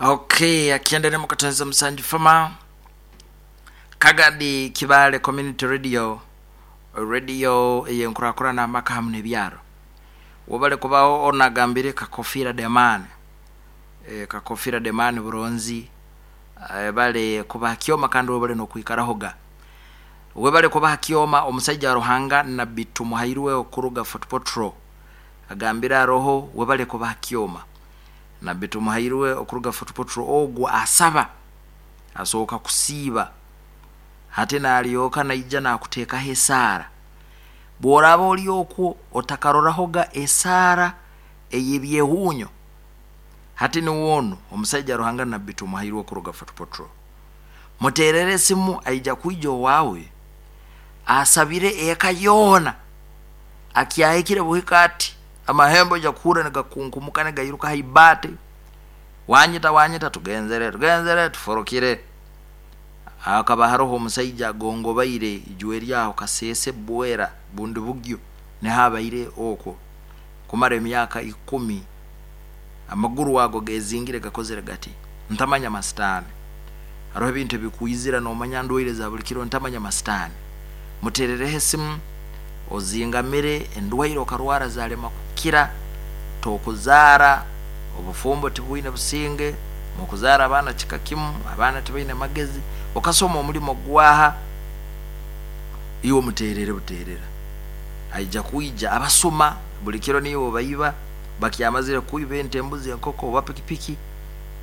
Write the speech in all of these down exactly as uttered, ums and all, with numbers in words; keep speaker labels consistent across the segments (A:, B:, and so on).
A: Okay, akiendelea mukatanza musanju fama Kagadi Kibale Community Radio, radio eyenkurakurana amaka hamu n'ebyaro. Wobale kubaho onagambire Kakofira Demani, e, Kakofira Demani buronzi, e, bale kubaha kyoma kandi wobale nokwikarahoga. Webale kubaha kyoma omusaija wa Ruhanga Nabbi Tumuhairwe okuruga Fort Portal agambira roho webale kubaha kyoma. Nabbi Tumuhairwe okuruga Fort Portal ogwo asaba asooka kusiiba hati nalyoka naija nakuteekaho esaara. Bw'oraaba oli okwo otakarorahoga esaara ey'ebyehuunyo, hati niwe onu omusaija Ruhanga Nabbi Tumuhairwe okuruga Fort Portal. Muteerere esimu aija kwija owaawe asabire eka yoona. Akyahikire buhika ati amahembe oija kuhurra nigakunkumuka nigairuka haibaati, wanyita wanyita, tugenzere tugenzere tuforokire. Hakaba haroho omusaija agongobaire ijwe eryaho Kasese Bwera bundi bugyo niho abaire okwo kumara emyaka ikumi, amaguru ago gezingire gakozere gati ntamanya masitaani. Haroho ebintu ebikwizira nomanya ndwaire za buli kiro ntamanya masitaani. Muterereho esimu ozingamire endwaire okarwara zalema kukira, tokuzaara, obufumbo tibwine businge, mukuzaara abaana kika kimu, abaana tibaine magezi, okasoma omulimo gwaha, iwe omuterere buterera aija kwija. Abasuma buli kiro niiwe baiba, bakyamazire kwiba ente, embuzi, enkoko oba pikipiki.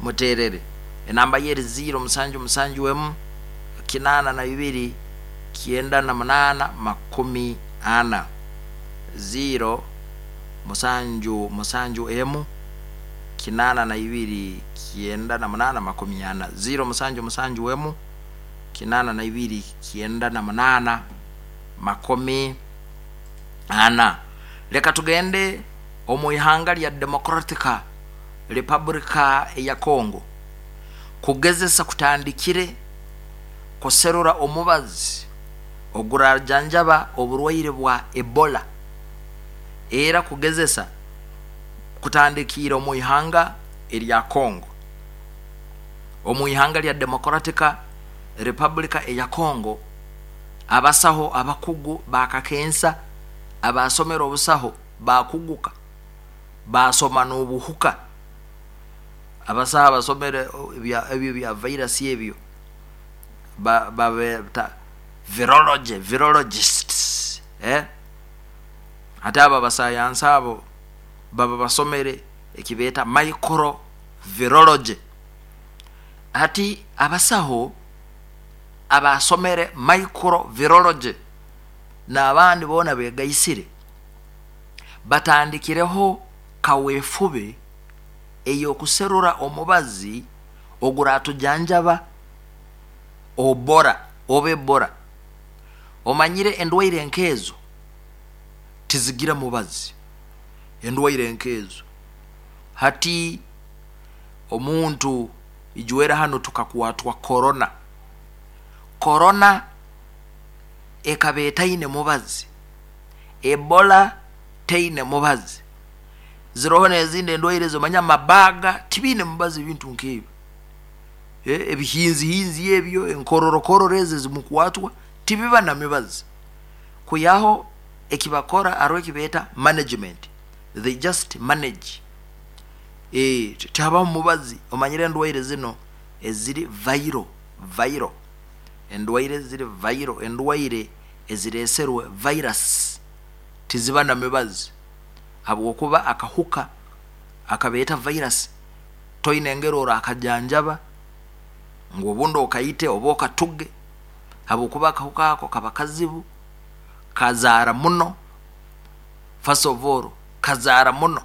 A: Muterere enamba ye eri ziro musanju musanju emu kinaana na ibiri kyenda na munaana makumi ana, ziro musanju musanju emu kinaana na ibiri kyenda na munaana makumi ana, ziro musanju musanju emu kinaana na ibiri kyenda na munaana makumi ana. Leka tugende omu ihanga lya Democratica Republika eya Congo. Kugezesa kutandikire kuserura omubazi ogurajanjaba oburwaire bwa Ebola. Era kugezesa kutandikiire omu ihanga erya Congo, omu ihanga lya Democratica Republika eya Congo. Abasaho abakugu bakakensa abasomere obusaho bakuguka basoma n'obuhuka, abasaho abasomere ebyo bya virus ebyo babeta virology, virologists, eh? Hati abo abasayansi abo baba basomere ekibeeta microvirology. Hati abasaho abasomere microvirology n'abandi boona begaisire batandikireho kaweefube ey'okuserura omubazi oguratujanjaba obora oba Ebola. Omanyire endwaire nkeezo tizigira mubazi, endwaire nkeezo. Hati omuntu ijwera hanu tukakwatwa korona, korona ekaba etaine mubazi, Ebola teine mubazi, ziroho n'ezindi endwaire zomanya mabaga tibiine mubazi, ebintu nk'ebyo, ebihinzihinzi ebyo, enkororokororo ezi ezimukwatwa tibiba na mibazi. Kwihaho ekibakora haroho ekibeeta management, they just manage, e, tihabaho mubazi. Omanyire endwaire zino eziri viral, viral endwaire eziri viral, endwaire ezireserwe virus tiziba na mibazi, habwokuba akahuka akabeeta virus toine engeri orakajanjaba ngu obundi okaite oba okatuge, habwokuba akahuka ako kaba kazibu, kazaara muno. First of all kazaara muno.